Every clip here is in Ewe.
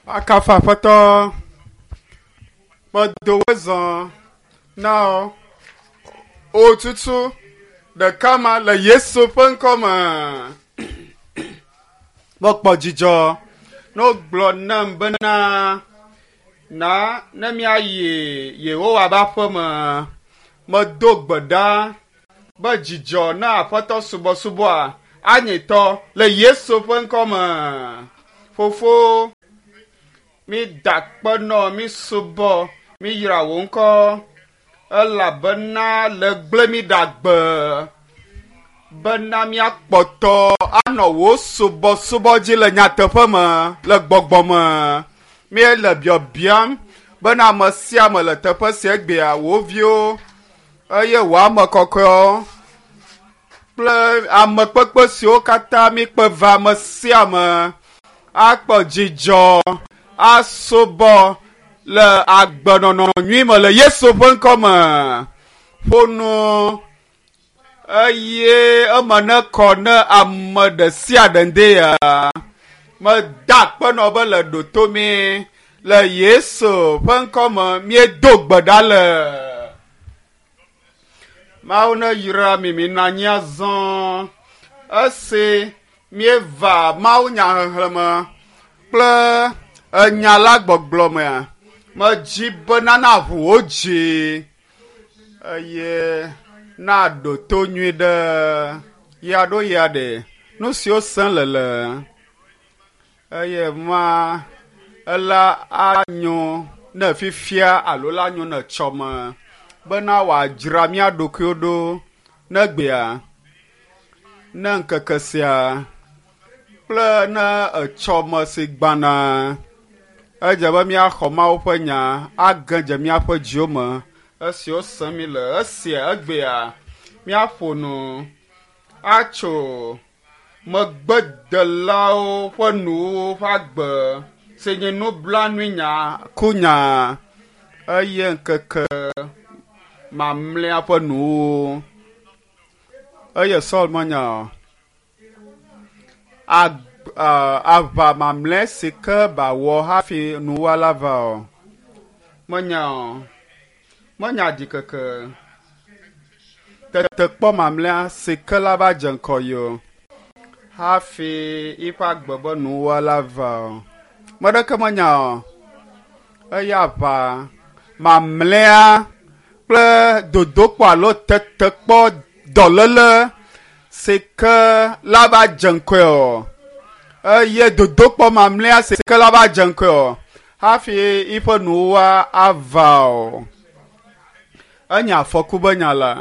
Akafu Aƒetɔ. Medo wo zɔ na wò tutu ɖeka ma le Yesu ƒe ŋkɔ me. Mekpɔ dzidzɔ ne wogblɔ nam bena na ne míayi Yehowa ƒe aƒe me. Medo gbe ɖa be dzidzɔ na Aƒetɔ subɔsubɔa anyitɔ le Yesu ƒe ŋkɔ me. Fofo, mi da akpe nɔ, mi subɔ, mi yra wò ŋkɔ elabena le gblẽ mi ɖe agbe bena míakpɔtɔ anɔ wò subɔsubɔ dzi le nyateƒe me le gbɔgbɔ me. Míele biabiam bena ame sia ame le teƒe sia egbea, wò viwo eye wò ame kɔkɔewo kple ame kpekpe siwo katã míkpe va ame sia ame akpɔ dzidzɔ asubɔ le agbenɔnɔ nyui me le Yesu ƒe ŋkɔ me. Ƒo nu eye eme nekɔ ne ame ɖe sia ɖe ŋde ya. Meda akpe nɔ be le ɖoto mi le Yesu ƒe ŋkɔ me míedo gbe ɖa le. Mawu ne yra mi mi nɔ anyi azɔ. Esi míeva Mawu nyaxexlẽme kple enya la gbɔgblɔ mea, medzi be nana ʋu wo dzi eye naɖo to nyui ɖe ya ɖo ya ɖe nu siwo sẽ le le eye ma ela anyo ne fifia alo la nyo ne tsɔme bena wòadzra mía ɖokuiwo ɖo ne gbea, ne ŋkeke sia kple ne etsɔme si gbana. Edze be míaxɔ Mawu ƒe nya age dze míaƒe dziwo me esiwo sem mi le esia egbea míaƒo nu atso megbedelawo ƒe nuwo ƒe agbe si nye nublanuinya kunya eye ŋkeke mamlɛa ƒe nuwo. Eye Saul menya o. Ag aʋa mamlɛ si ke ba wɔ hafi nuwa la va o. Menya o. Menya ɖikeke. Tetekpɔ mamlɛa si ke la va dze ŋkɔ yi o hafi yiƒe agbe be nuwa la va o. Me ɖeke menya o. Eya aʋa mamlɛa kple dodokpɔ alo tetekpɔ dɔléle si ke la va dze ŋkɔe o. Eye dodokpɔ mamlɛa si ke la va dze ŋkɔe o hafi yiƒe nuwa ava o. Enye afɔku be nya la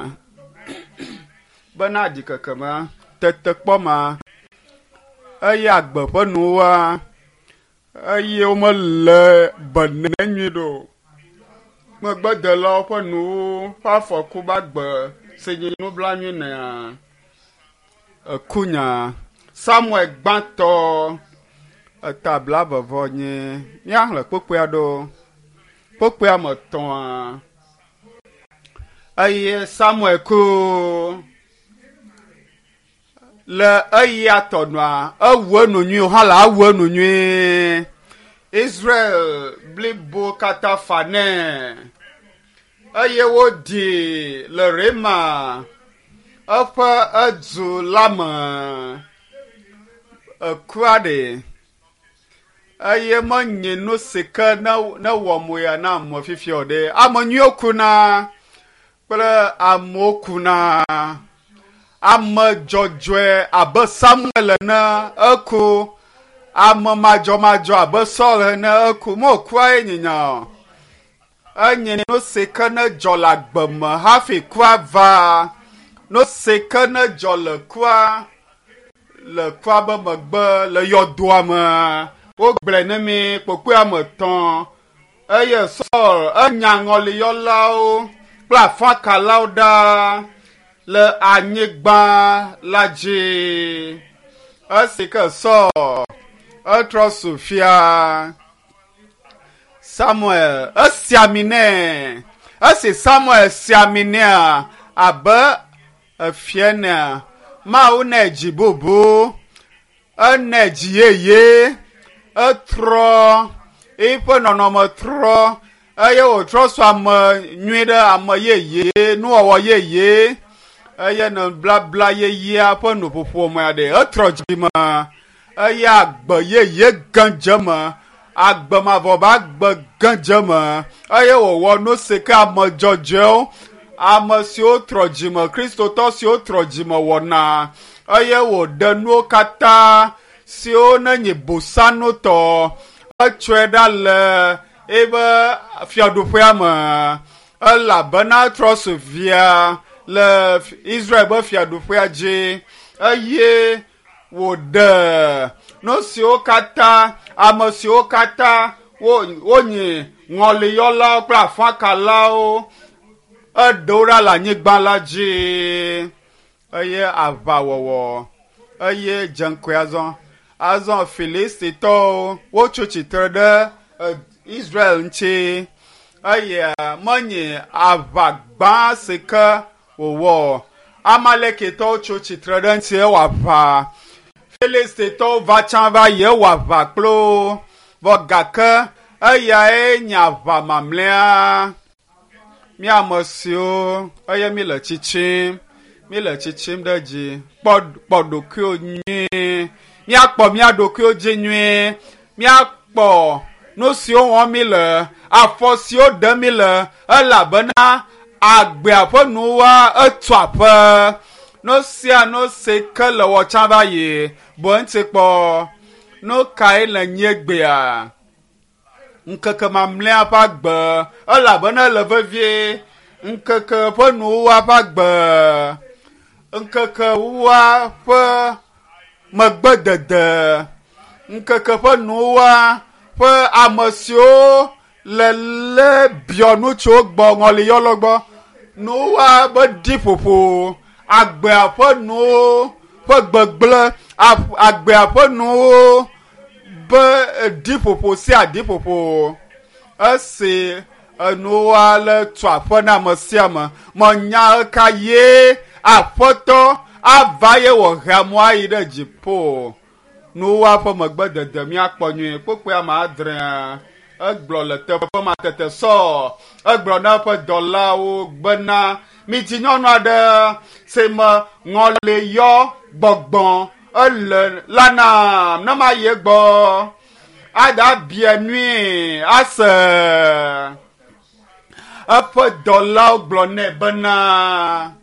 bena ɖikeke ma, tetekpɔ ma eye agbe ƒe nuwa eye womele be nɛ nyui ɖo o. Megbedelawo ƒe nuwo ƒe afɔku be agbe si nye nublanui nɛa ekunya. Samuel gbãtɔ eta blaeve nye míaxlẽ kpukpui aɖewo. Kpukpuia me tɔ̃a eye Samuel ku le eya tɔnua ewu enu nyui hã la ewu enu nyui. Israel blibo katã fa nɛ eye woɖi le Rema eƒe edu la me. Ekua ɖe eye menye nu si ke ne ne wɔ moya na ame fifia o ɖe. Ame nyuiwo kuna kple amewo kuna. Ame dzɔdzɔe abe Samuel ene eku. Ame madzɔmadzɔ abe Saul ene eku. Mekua ye nye nya o. Enye nu si ke ne dzɔ le agbe me hafi kua va. Nu si ke ne dzɔ le kua le kua be megbe le yɔdoa me. Wogblɔe ne mi kpokpoe ame etɔ̃ eye Saul enya ŋɔliyɔlawo kple afakalawo ɖa le anyigba la dzi. Esi ke Saul etrɔ su fia. Samuel esi ami nɛ. Esi Samuel si ami nɛa abe efia enea, Mawu nɛ dzi bubu, enɛ dzi yeye, etrɔ. Eƒe nɔnɔme trɔ eye wòtrɔ su ame nyui ɖe ame yeye, nuwɔwɔ yeye eye nublabla yeyea ƒe nuƒoƒo me aɖe. Etrɔ dzime eye agbe yeye gã dze eme, agbe mavɔ be agbe gã dze eme eye wòwɔ nu si ke ame dzɔdzɔewo, ame siwo trɔ dzime, kristotɔ siwo trɔ dzime wɔna eye wòɖe nuwo katã siwo nenye bosanutɔ etsɔe ɖa le ebe fiaɖuƒea me elabena trɔ su via le Israel be fiaɖuƒea dzi eye wòɖe nu siwo katã ame siwo katã wonyi ŋɔliyɔlawo kple afakalawo eɖewo ɖa le anyigba la dzi eye aʋawɔwɔ eye dze ŋkɔe azɔ. Azɔ Filistitɔwo wotso tsitre ɖe Israel ŋuti eye menye aʋa gbã si ke wòwɔ. Amalekitɔwo tso tsitre ɖe ŋuti ewɔ aʋa. Filistitɔwo va tsã va yi ewɔ aʋa kple wo vɔ gake eyae nye aʋa mamlɛa. Mi ame siwo eye mi le tsitsim, mi le tsitsim ɖe dzi. Kpɔ kpɔ ɖokuiwo nyuie. Míakpɔ mía ɖokuiwo dzi nyuie. Míakpɔ nu siwo wɔm mi le, afɔ siwo ɖem mi le elabena agbea ƒe nuwa etu aƒe. Nu sia nu si ke le wɔ tsã va yi, bu eŋuti kpɔ. Nu kae le nye gbea? Ŋkeke mamlɛa ƒe agbe elabena ele vevie. Ŋkeke ƒe nuwuwua ƒe agbe. Ŋkeke wua ƒe megbedede. Ŋkeke ƒe nuwuwua ƒe ame siwo le lé biɔ nu tso gbɔ ŋɔliyɔlɔ gbɔ. Nuwuwua be ɖiƒoƒo, agbea ƒe nuwo ƒe gbegblẽ, agbea ƒe nuwo be ɖiƒoƒo sia ɖiƒoƒo. Esi enuwoa le tu aƒe na ame sia ame, menya ɣeka ye aƒetɔ ava ye wòhe amewo ayi ɖe dziƒo. Nuwuwua ƒe megbedede míakpɔ nyuie. Kpukpui ame adrea egblɔ le teƒe ma tete Saul egblɔ na eƒe dɔlawo bena midzi nyɔnu aɖe si me ŋɔliyɔ gbɔgbɔ ele la nam ne mayi egbɔ aɖa bia nui ase. Eƒe dɔlawo gblɔ nɛ bena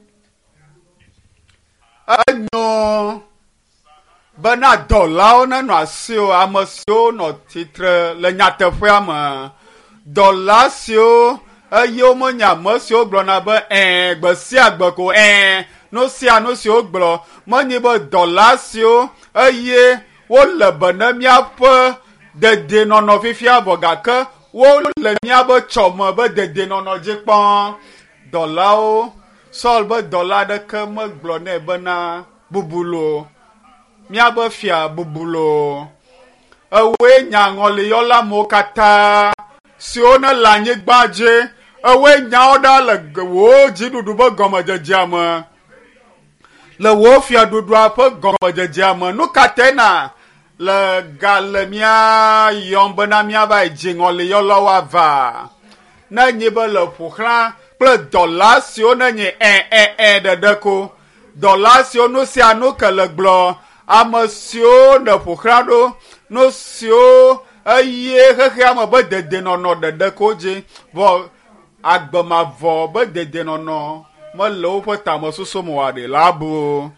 enyo bena dɔlawo nenɔ asiwò, ame siwo nɔ tsitre le nyateƒea me. Dɔla siwo eye womenye ame siwo gblɔna be ɛ̃ gbe sia gbe ko ɛ̃ nu sia nu si wogblɔ. Menye be dɔla siwo eye wole be ne míaƒe dedienɔnɔ fifia vɔ gake wole míaƒe tsɔme be dedienɔnɔ dzi kpɔm. Dɔlawo, Saul be dɔla aɖeke megblɔ nɛ bena bubu loo, míaƒe fia bubu loo. Ewoe nya ŋɔliyɔla amewo katã siwo ne le anyigba dzi. Ewoe nyawo ɖa le wò dziɖuɖu ƒe gɔmedzedzea me. Le wò fiaɖuɖua ƒe gɔmedzedzea me. Nu ka tae na le ga le mía yɔm bena míava yi dzi ŋɔliyɔlawo ava? Ne nyi be le ƒo xlã kple dɔla siwo ne nyi ɛ ɛ ɛ ɖeɖe ko. Dɔla siwo nu sia nu ke le gblɔ, ame siwo ne ƒo xlã ɖo, nu siwo eye xexea me be dedienɔnɔ ɖeɖe ko dzi vɔ agbe mavɔ be dedienɔnɔ mele woƒe tamesusu me oa ɖe la bu.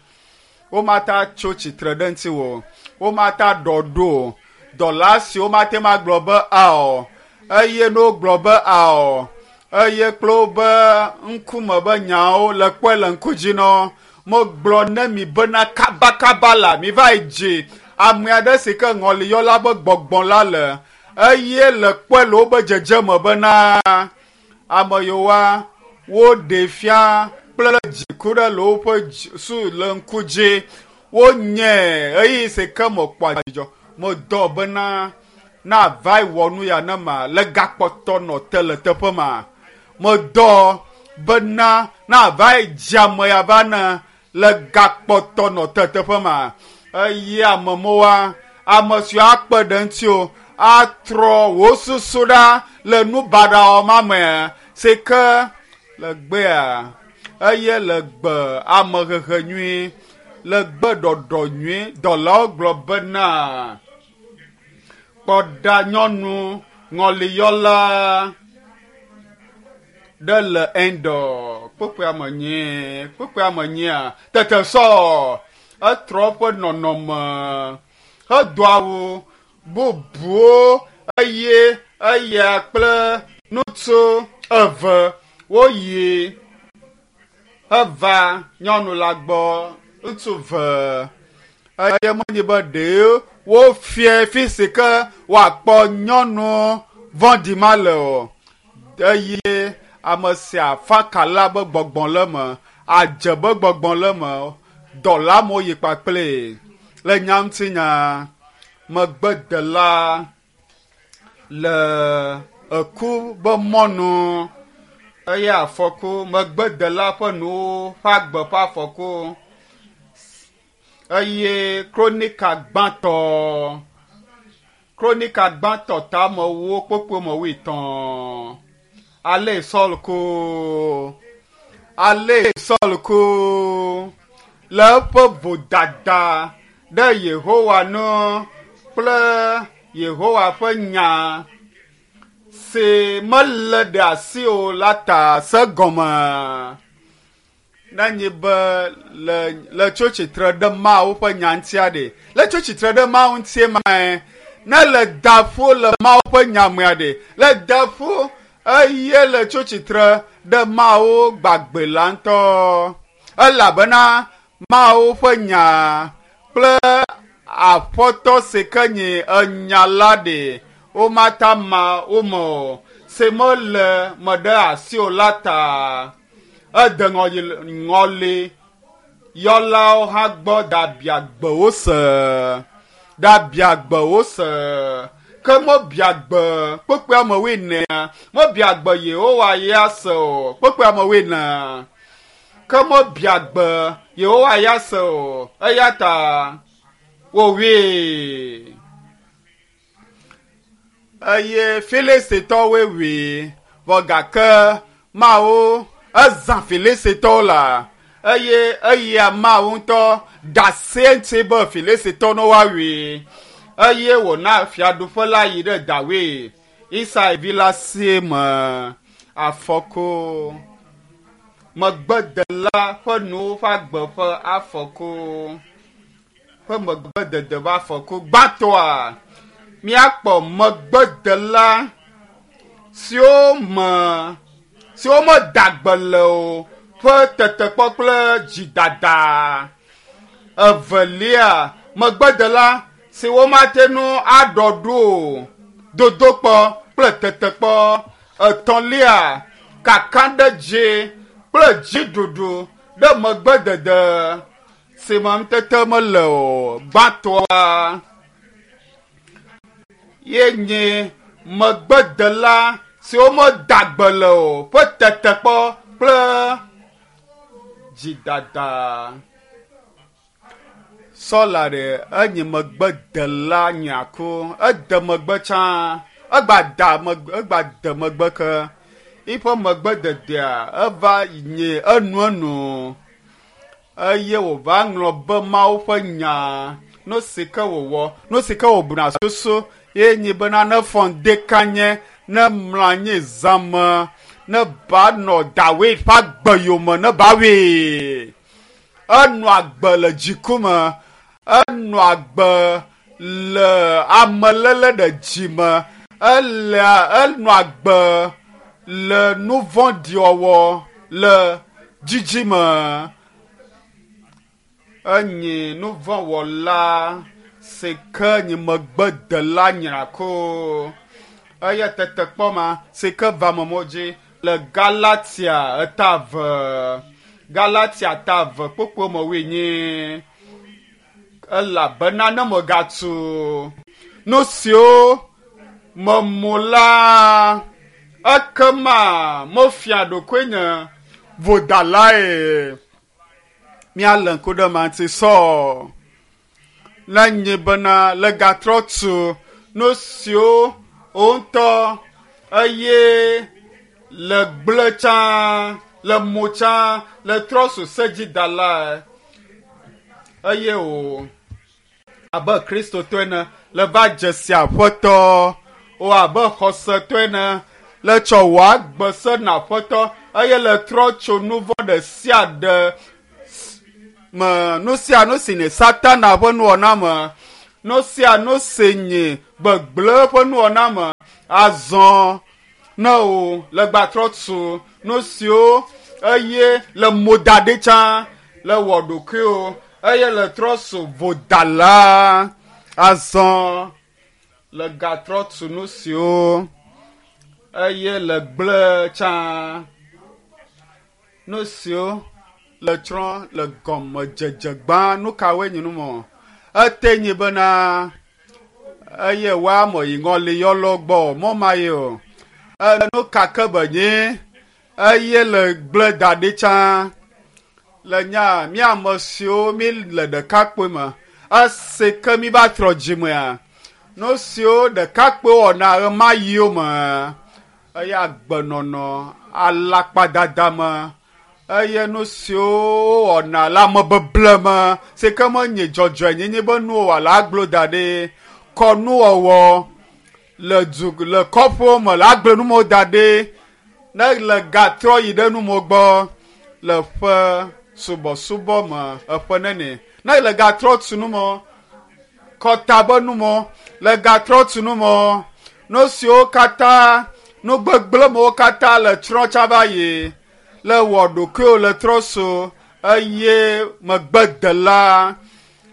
Womata tso tsitre ɖe ŋuti o, womata ɖɔ ɖo o. Dɔla siwo mate ŋu agblɔ be ao eye ne wogblɔ be ao eye kple wobe ŋkume be nyawo le kpɔe le ŋku dzi na wo. Megblɔ ne mi bena kabakaba la miva yi dzi ame aɖe si ke ŋɔliyɔla be gbɔgbɔ la le eye le kpɔe le wobe dzedzeme bena ame yiwoa woɖee fia kple dziku ɖe le woƒe su le ŋku dzi. Wonye ɣeyiɣi si ke mekpɔa dzidzɔ. Medɔ bena na va yi wɔ nu ya ne ma le gakpɔtɔ nɔ te le teƒe ma. Medɔ bena na va yi dzi ame ya va ne le gakpɔtɔ nɔ te teƒe ma. Eye ame mewoa, ame siwo akpe ɖe ŋutiwò, Atrɔ wò susu ɖa le nu baɖa ma me si ke le gbea eye le gbe amehehe nyui le gbe ɖɔɖɔ nyui dɔlawo gblɔ bena kpɔ ɖa nyɔnu ŋɔliyɔla ɖe le Endor kpukpui ame nyi kpukpui ame nyia tete sɔ etrɔ eƒe nɔnɔme hedo awu bubuwo eye eya kple ŋutsu eve woyi heva nyɔnu la gbɔ ŋutsu ve eye menye be ɖe wofia fi si ke woakpɔ nyɔnu vɔ̃ɖi ma le o eye ame sia afakala be gbɔgbɔ le eme adze be gbɔgbɔ le eme dɔla amewo yi kpakple le nya ŋutinya megbedela le eku be mɔnu eye afɔku megbedela ƒe nuwo ƒe agbe ƒe afɔku eye kronika gbãtɔ kronika gbãtɔ tamewo kpokpo me wuietɔ̃ ale Saul ku ale Saul ku le eƒe vodada ɖe Yehowa ŋu kple Yehowa ƒe nya si melé ɖe asi o la ta se gɔme nenye be le le tso tsitre ɖe Mawu ƒe nya ŋutia ɖe le tso tsitre ɖe Mawu ŋutie mae ne le da ƒu le Mawu ƒe nya mea ɖe le da ƒu eye le tso tsitre ɖe Mawu gbagbe la ŋutɔ elabena Mawu ƒe nya kple aƒetɔ si ke nye enya la ɖe womata ma wo me o si mele me ɖe asi o la ta ede ŋɔli ŋɔli yɔlawo hã gbɔ ɖabia gbe wo se ɖabia gbe wo se ke mebia gbe kpekpe amewoe nea mebia gbe Yehowa ya se o kpekpe amewoe nea ke mebia gbe Yehowa ya se o eya ta wowoe eye Filistitɔwoe wui vɔ gake Mawu ezã Filistitɔwo la eye eya Mawu ŋutɔ ɖase ŋuti be Filistitɔwo ne woawui eye wòna fiaɖuƒe la yi ɖe Dawid Isai vi la si me afɔku megbedela ƒe nuwo ƒe agbe ƒe afɔku ƒe megbedede ƒe afɔku gbãtɔa míakpɔ megbedela siwo me siwo meda gbe le o ƒe tetekpɔ kple dzidada evelia megbedela si womate ŋu aɖɔ ɖo o dodokpɔ kple tetekpɔ etɔ̃lia kakaɖedzi kple dziɖuɖu ɖe megbedede si me ŋutete mele o gbãtɔa ye nye megbedela siwo meda gbe le o ƒe tetekpɔ kple dzidada. Sɔla ɖe enye megbedela nyako ede megbe tsã egba da megbe egba de megbe ke eƒe megbededea eva nye enuenu eye wòva ŋlɔ be Mawu ƒe nya nu si ke wòwɔ nu si ke wòbuna susu ye nye bena ne fɔ ŋdi kanye ne mlɔ anyi zã me ne ba nɔ Dawid ƒe agbe yome ne ba wui enɔ agbe le dziku me enɔ agbe le ameléle ɖe dzi me ele enɔ agbe le nu vɔ̃ɖi wɔwɔ le dzidzi me enye nu vɔ̃ wɔla si ke nye megbedela nyrako eye tetekpɔ ma si ke va amewo dzi le Galatia eta eve Galatia ta eve kpokpo me wuienyi elabena ne megatu nu siwo memu la ekema mefia ɖokuinye vodalae míalé ŋku ɖe ema ŋuti sɔ ne nye bena le gatrɔ tu Nu siwo wo ŋutɔ eye le gblẽ tsã, le mo tsã, le trɔ zu sedzidalae eye o abe Kristotɔ ene le va dze si Aƒetɔ o abe xɔsetɔ ene le tsɔ wò agbe se na Aƒetɔ eye le trɔ tso nu vɔ̃ ɖe sia ɖe me, nu sia nu si nye Satana ƒe nuwɔna me, nu sia nu si nye gbegblẽ ƒe nuwɔna me azɔ ne o le gbatrɔ tu nu siwo eye le mo da ɖi tsã le wɔ ɖokuiwo eye le trɔ su vodala azɔ le gatrɔ tu nu siwo eye le gblẽ tsã nu siwo le tsrɔ̃ le gɔmedzedze gbã. Nu kawoe nye nu mɔ? Ete nyi bena eye woamɔ yi ŋɔli yɔlɔ gbɔ mɔ ma ye o. Nu ka ke be nyi eye le gblẽ da ɖi tsã le nya mí ame siwo mí le ɖekakpui me esi ke mí va trɔ dzimea nu siwo ɖekakpui wɔna ɣemaɣiwo me eye agbenɔnɔ alakpadada me eye nu siwo wowɔna le amebeble me si ke menye dzɔdzɔenyenye be nuwo alo aglo da ɖi kɔnuwɔwɔ le du le kɔƒewo me le agblenumewo da ɖi ne le gatrɔ yi ɖe numewo gbɔ le ƒe subɔsubɔ me eƒe nene ne le gatrɔ tu numewo kɔta be numewo le gatrɔ tu numewo nu siwo katã nu gbegblẽmewo katã le trɔ tsa va yi le wɔ ɖokuiwo le trɔ so eye megbedela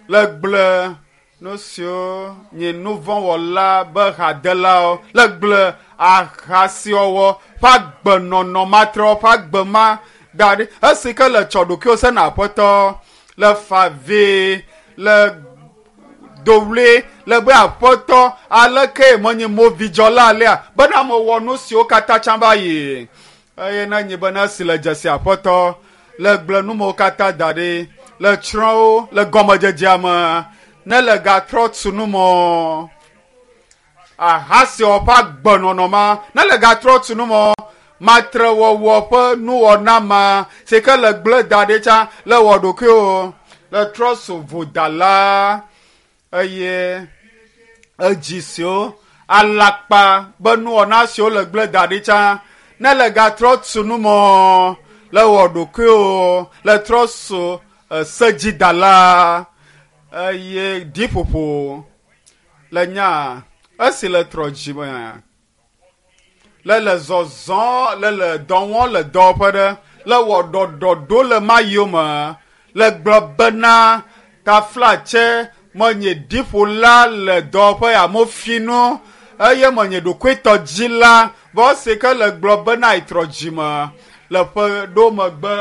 le gblẽ nu siwo nye nuvɔ̃wɔla be hadelawo le gblẽ ahasiwɔwɔ ƒe agbenɔnɔ matrɔ ƒe agbe ma da ɖi esi ke le tsɔ ɖokuiwo sena Aƒetɔ le fa vi le dowli le be Aƒetɔ aleke menye movidzɔla alea bena mewɔ nu siwo katã tsã va yi eye ne nyi bena esi le dzesi Aƒetɔ le gblẽ numewo katã da ɖi le tsrɔ̃wo le gɔmedzedzea me ne le gatrɔ tu numɔ ahasiwɔ ƒe agbenɔnɔ ma ne le gatrɔ tu numɔ matrewɔwɔ ƒe nuwɔna ma si ke le gblẽ da ɖi tsã le wɔ ɖokuiwo le trɔ su vodala eye edzi siwo alakpa be nuwɔna siwo le gblẽ da ɖi tsã ne le gatrɔ tu numɔ le wɔ ɖokuiwo le trɔ su sedzidala eye ɖiƒoƒo le nya esi le trɔ dzime le le zɔzɔ le le dɔ wɔm le dɔwɔƒe ɖe le wɔ ɖɔɖɔɖo le mayiwo me le gblɔ bena taflatse menye ɖiƒola le dɔwɔƒe ya mofinu eye menye ɖokuitɔdzila vɔ esi ke le gblɔ bena yitrɔ dzime le ƒe ɖo megbe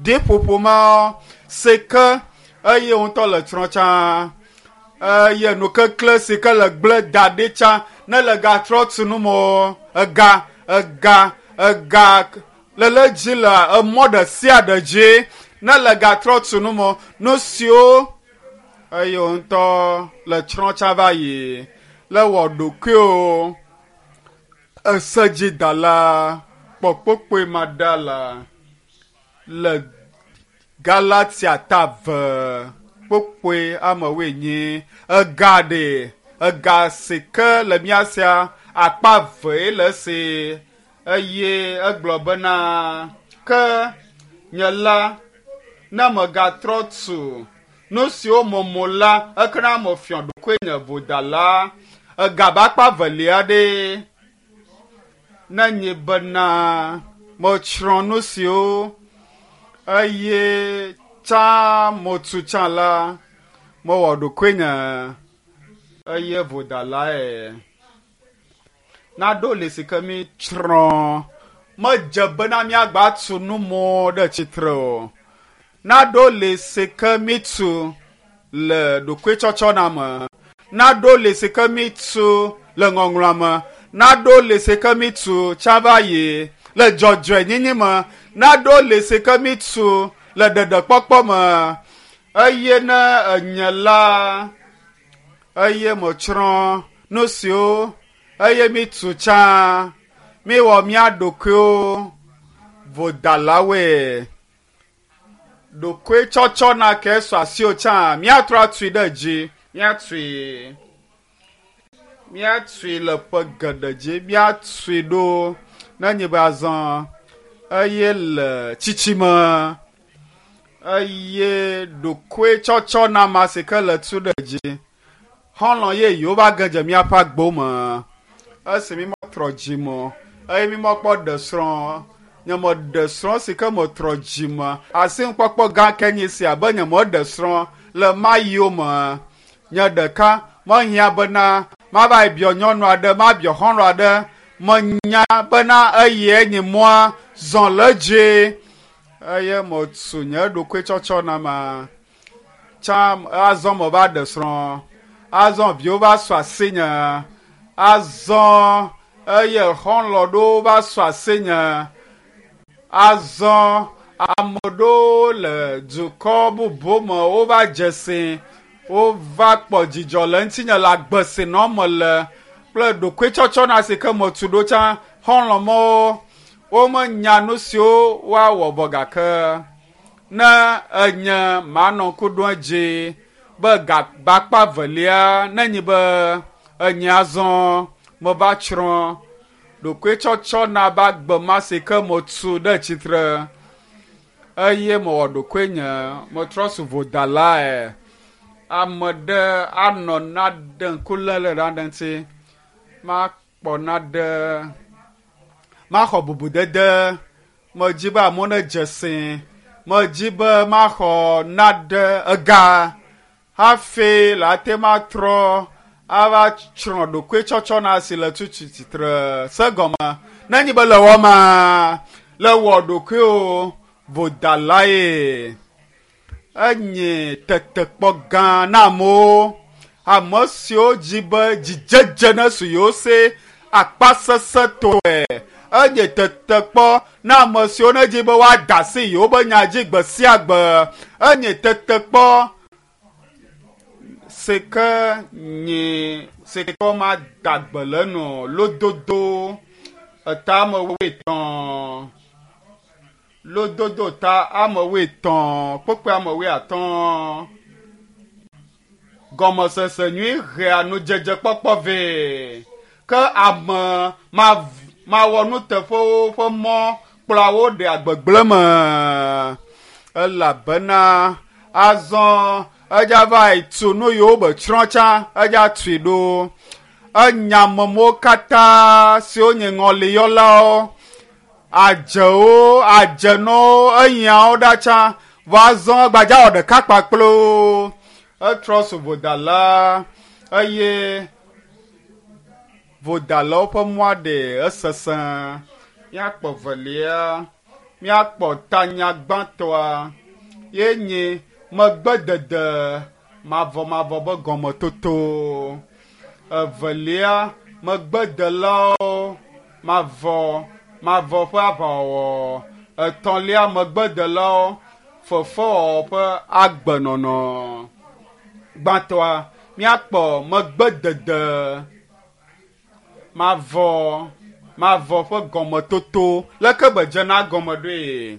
ɖiƒoƒo ma si ke eye ŋutɔ le trɔ tsã eye nukekle si ke le gblẽ da ɖi tsã ne le gatrɔ tu nu me ega ega ega le le dzi le emɔ ɖe sia ɖe dzi ne le gatrɔ tu nu me nu siwo eye ŋutɔ le tsrɔ̃ tsã va yi le wɔ ɖokuiwo esedzidala kpɔkpɔkpɔe ma ɖa la le Galatia ta ve kpokpoe amewoe nyi ega ɖe ega si ke le mía sia akpa vee le esi eye egblɔ bena ke nye la ne megatrɔ tu nu siwo momo la ekena mefiɔ ɖokuinye vodala ega be akpa velia ɖe ne nye bena metsrɔ̃ nu siwo eye tsã motu tsã la mewɔ ɖokuinye eye vodalae. Naɖo li si ke mi tsrɔ̃ medze bena míagba tu nu mɔ ɖe tsitre o. Naɖo li si ke mi tu le ɖokuitsɔtsɔna me. Naɖo li si ke mi tu le ŋɔŋlɔa me. Naɖo li si ke mi tu tsã va yi le dzɔdzɔenyenye me. Naɖo li si ke mi tu le ɖeɖekpɔkpɔ me. Eye ne enye la eye metsrɔ̃. Nu siwo eye mi tu tsã, miwɔ mía ɖokuiwo vodalawoe. Ɖokuitsɔtsɔ na ke sɔ asiwò tsã, míatrɔ atui ɖe dzi, míatui. Míatui le ƒe geɖe dzi, míatui ɖo ne nye be azɔ eye le tsitsime eye ɖokuitsɔtsɔ na ma si ke le tu ɖe dzi. Xɔlɔ̃ yeyewo va ge dze míaƒe agbo me. Esi mi metrɔ dzime o eye mi mekpɔ ɖe srɔ̃ nye meɖe srɔ̃ si ke metrɔ dzime asinukpɔkpɔ gã ke nye sia be nye meɖe srɔ̃ le mayiwo me. Nye ɖeka mehiã bena mava yi biɔ nyɔnu aɖe, mabiɔ xɔlɔ̃ aɖe. Menya bena eye nye mɔa zɔ le edzi eye metu nye ɖokuitsɔtsɔ na ma. Tsã azɔ meva ɖe srɔ̃. Azɔ viwo va su asinye. Azɔ eye xɔlɔ̃ ɖewo va su asinye. Azɔ ame ɖewo le dukɔ bubu me wova dze si. Wova kpɔ dzidzɔ le ŋutinye le agbe si nɔm mele kple ɖokuitsɔtsɔ na si ke metu ɖo tsã. Xɔlɔ̃ mawo womenya nu siwo woawɔ vɔ gake ne enye manɔ ŋku ɖom edzi be gakpa velia ne nyi be enye azɔ meva tsrɔ̃ ɖokuitsɔtsɔ na be agbe ma si ke metu ɖe tsitre eye mewɔ ɖokuinye metrɔ su vodalae. Ame ɖe anɔ naɖe ŋku lé le naɖe ŋuti makpɔ naɖe maxɔ bubudede medzi be amewo nedze si medzi be maxɔ naɖe ega hafi le ate matrɔ ava tsrɔ̃ ɖokuitsɔtsɔ na si le tutu tsitre se gɔme ne nyi be le wɔma le wɔ ɖokuiwo vodalae. Enye tetekpɔ gã na amewo. Ame siwo dzi be dzidzedze ne su yewo si akpasesẽtɔe. Enye tetekpɔ na ame siwo ne dzi be woada asi yewo be nya dzi gbe sia gbe. Enye tetekpɔ si ke nye si ke womada gbe le enu o. Lododo eta ame wuietɔ̃. Lododo ta ame wuietɔ̃ kpukpui ame wuiatɔ̃. Gɔmesese nyui hea nudzedzekpɔkpɔ vɛ ke ame mawɔ nuteƒewo ƒe mɔ kplɔa wo ɖea gbegblẽ me elabena azɔ edza va yi tu nu yiwo be tsrɔ̃ tsã edza tui ɖo. Enya amewo katã siwo nye ŋɔliyɔlawo, adzewo, adzenɔwo, enyawo ɖa tsã vɔ azɔ gbadza wɔ ɖeka kpakple wo. Etrɔ su vodala eye vodalawo ƒe mɔa ɖe esesẽ. Míakpɔ velia, míakpɔ tanya gbãtɔa ye nye megbedede mavɔmavɔ be gɔmetoto. Evelia, megbedelawo mavɔ mavɔ ƒe aʋawɔwɔ. Etɔ̃lia, megbedelawo fefewɔwɔ ƒe agbenɔnɔ. Gbãtɔa, míakpɔ megbedede mavɔ mavɔ ƒe gɔmetoto. Leke be dzena gɔme ɖoe?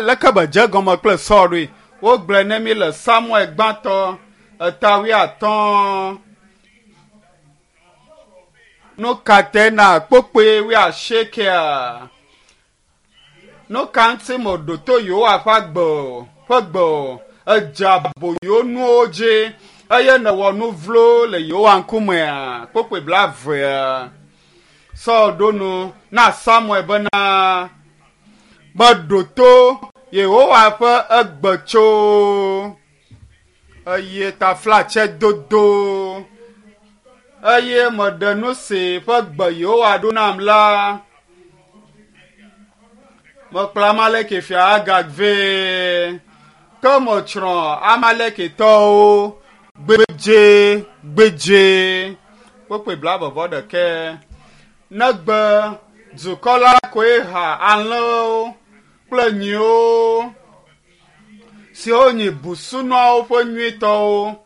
Leke be dze gɔme kple Saul ɖoe? Wogblɔe ne mi le Samuel gbãtɔ eta wuiatɔ̃. Nu ka tae na kpukpui wuiasiekɛa? Nu ka ŋuti meɖo to Yehowa ƒe agbe o ƒe gbe o? Edze aboyo nuwo dzi eye nèwɔ nu vlo le Yehowa ŋkumea? Kpukpui blaevea. Saul ɖo nu na Samuel bena, meɖo to Yehowa ƒe egbe tso eye taflatse dodo eye meɖe nu si ƒe gbe Yehowa ɖo nam la. Mekplɔ Amaleki fia Agag vɛ ke metsrɔ̃ Amalekitɔwo gbedze gbedze. Kpukpui blaeve vɔ ɖekɛ. Negbe dukɔ la koe ha alẽwo kple nyiwo siwo nyi busunuawo ƒe nyuitɔwo.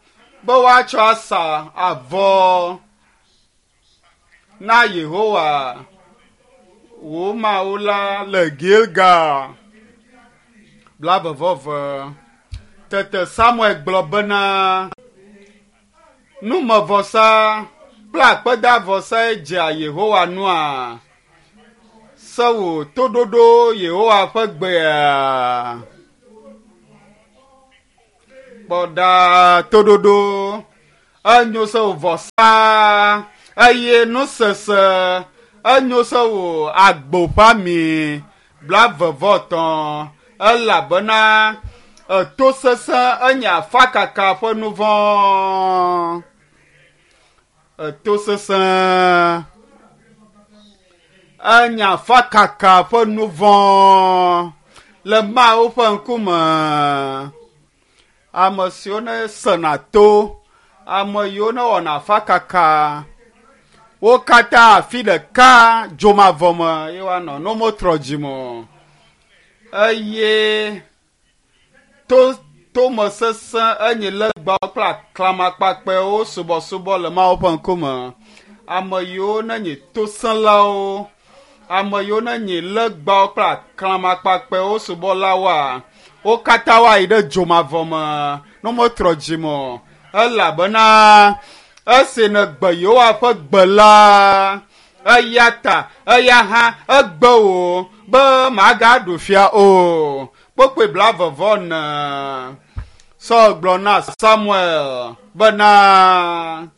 be woatsɔ asa avɔ na Yehowa wò Mawu la le Gilgal. 22. Tete Samuel gblɔ bena, numevɔsa kple akpedavɔsae dzea Yehowa nua? Se wò toɖoɖo Yehowa ƒe gbea? Kpɔ ɖa toɖoɖo enyo se wò vɔsa eye nusese enyo se wò agbo ƒe ami 23 elabena eto sesẽ enye afakaka ƒe nu vɔ̃. Eto sesẽ enye afakaka ƒe nu vɔ̃ le Mawu ƒe ŋkume. Ame siwo ne sena to, ame yiwo ne wɔna afakaka, wo katã afi ɖeka dzomavɔ me ye woanɔ ne wometrɔ dzime o. Eye to tome sesẽ enye legbawo kple aklamakpakpɛwo subɔsubɔ le Mawu ƒe ŋkume. Ame yiwo nenye tosẽlawo, ame yiwo nenye legbawo kple aklamakpakpɛwo subɔlawoa, wo katã woayi ɖe dzomavɔ me ne wometrɔ dzime o. Elabena esi nègbe Yehowa ƒe gbe la, eya ta eya hã egbe wò be màgaɖu fia o. Kpokpoe 44. Saul gblɔ na Samuel bena,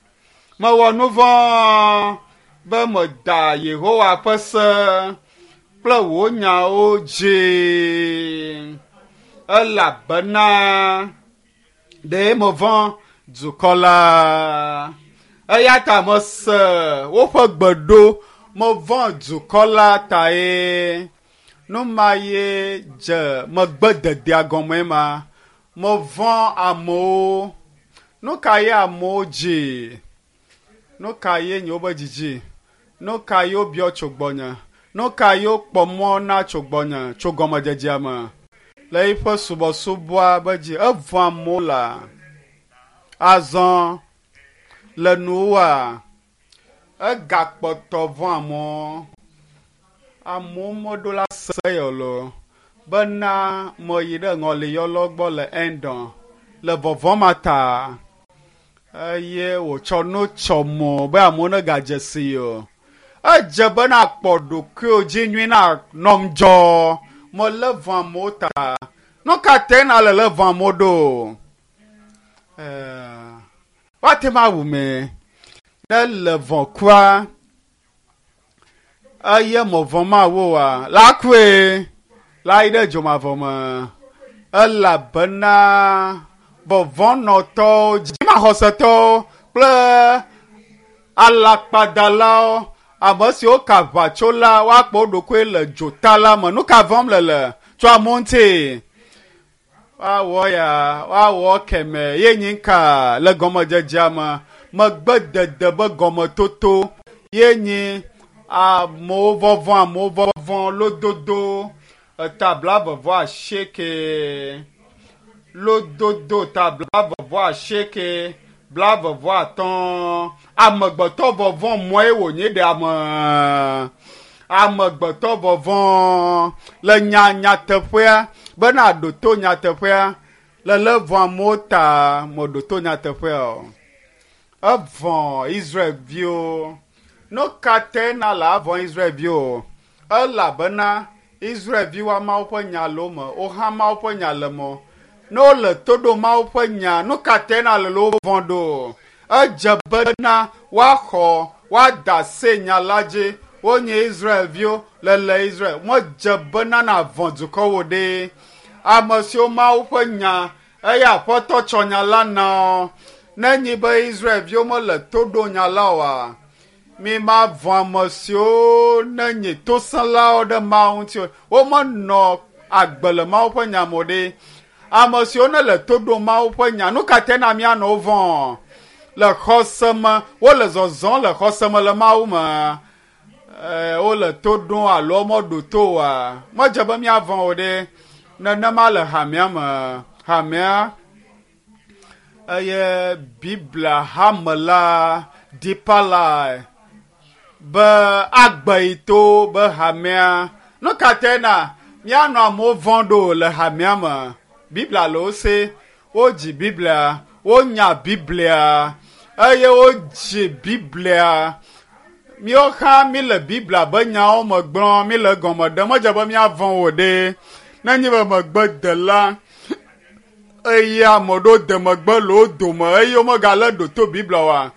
mewɔ nu vɔ̃ be meda Yehowa ƒe se kple wò nyawo dzi, elabena ɖe mevɔ̃ dukɔ la. Eya ta mese woƒe gbe ɖo, mevɔ̃ dukɔ la tae. Nu ma ye dze megbededea gɔme ma. Mevɔ̃ amewo. Nu ka ye amewo dzi? Nu ka ye nye wobe dzidzi? Nu ka ye wobiɔ tso gbɔnye? Nu ka ye wokpɔ mɔ na tso gbɔnye tso gɔmedzedzea me? Le eƒe subɔsubɔa be dzi, evɔ̃ amewo la. Azɔ le nuwòa, egakpɔtɔ vɔ̃ amewo. Amewo meɖo la se yɔ lo bena meyi ɖe ŋɔliyɔlɔ gbɔ le Endor le vɔvɔ̃ ma ta eye wòtsɔ nu tsɔ mɔ be amewo negadze si o. Edze be nakpɔ ɖokuiwò dzi nyui na nɔm dzɔ melé vɔ̃ amewo ta. Nu ka tae nale lé vɔ̃ amewo ɖo? Woate ŋu awu me ne le vɔ̃ kua eye mevɔ̃ Mawu oa, la kue la yi ɖe dzomavɔ me elabena vɔvɔ̃nɔtɔwo, dzimaxɔsetɔwo kple alakpadalawo, ame siwo ka aʋatso la, woakpɔ wo ɖokui le dzota la me. Nu ka vɔ̃m le le tso amewo ŋuti? Woawɔ ya, woawɔ kemɛ ye nyi ka le gɔmedzedzea me. Megbedede be gɔmetoto ye nyi amewo vɔvɔ̃, amewo vɔvɔ̃, lododo eta 28, lododo ta 28, 25. Amegbetɔ vɔvɔ̃ mɔe wònye ɖe ame. Amegbetɔ vɔvɔ̃ le nya nyateƒea bena ɖo to nyateƒea le lé vɔ̃ amewo ta meɖo to nyateƒea o. Evɔ̃ Israelviwo. Nu ka tae na le avɔ̃ Israelviwo? Elabena Israelviwoa Mawu ƒe nya le wo me, wohã Mawu ƒe nya le me. Ne wole to ɖo Mawu ƒe nya, nu ka tae na le wo vɔ̃ ɖo? Edze bena woaxɔ, woada se nya la dzi. Wonye Israelviwo le le Israel. Medze bena navɔ̃ dukɔwo ɖe. Ame siwo Mawu ƒe nya eye Aƒetɔ tsɔ nya la na wo. Ne nyi be Israelviwo mele to ɖo nya la oa, mi mavɔ̃ ame siwo nenye tosẽlawo ɖe Mawu ŋuti o. Womenɔ agbe le Mawu ƒe nya me o ɖe. Ame siwo nele to ɖom Mawu ƒe nya, nu ka tae na míanɔ wo vɔ̃? Le xɔse me, wole zɔzɔm le xɔse me le Mawu me. Wole to ɖom alo womeɖo to oa? Medze be míavɔ̃ o ɖe. Nenema le hamea me. Hamea Eye Biblia hame la Deeper Life be agbe yi to be hamea. Nu ka tae na míanɔ amewo vɔ̃ ɖo le hamea me? Biblia le wo se, wodzi Biblia, wonya Biblia eye wodzi Biblia. Míawo hã míle Biblia be nyawo me gblɔm, míle egɔme ɖem. Medze be míavɔ̃ o ɖe. Nenye be megbedela eye ame ɖewo de megbe le wo dome eye womegalé ɖo to Biblia oa,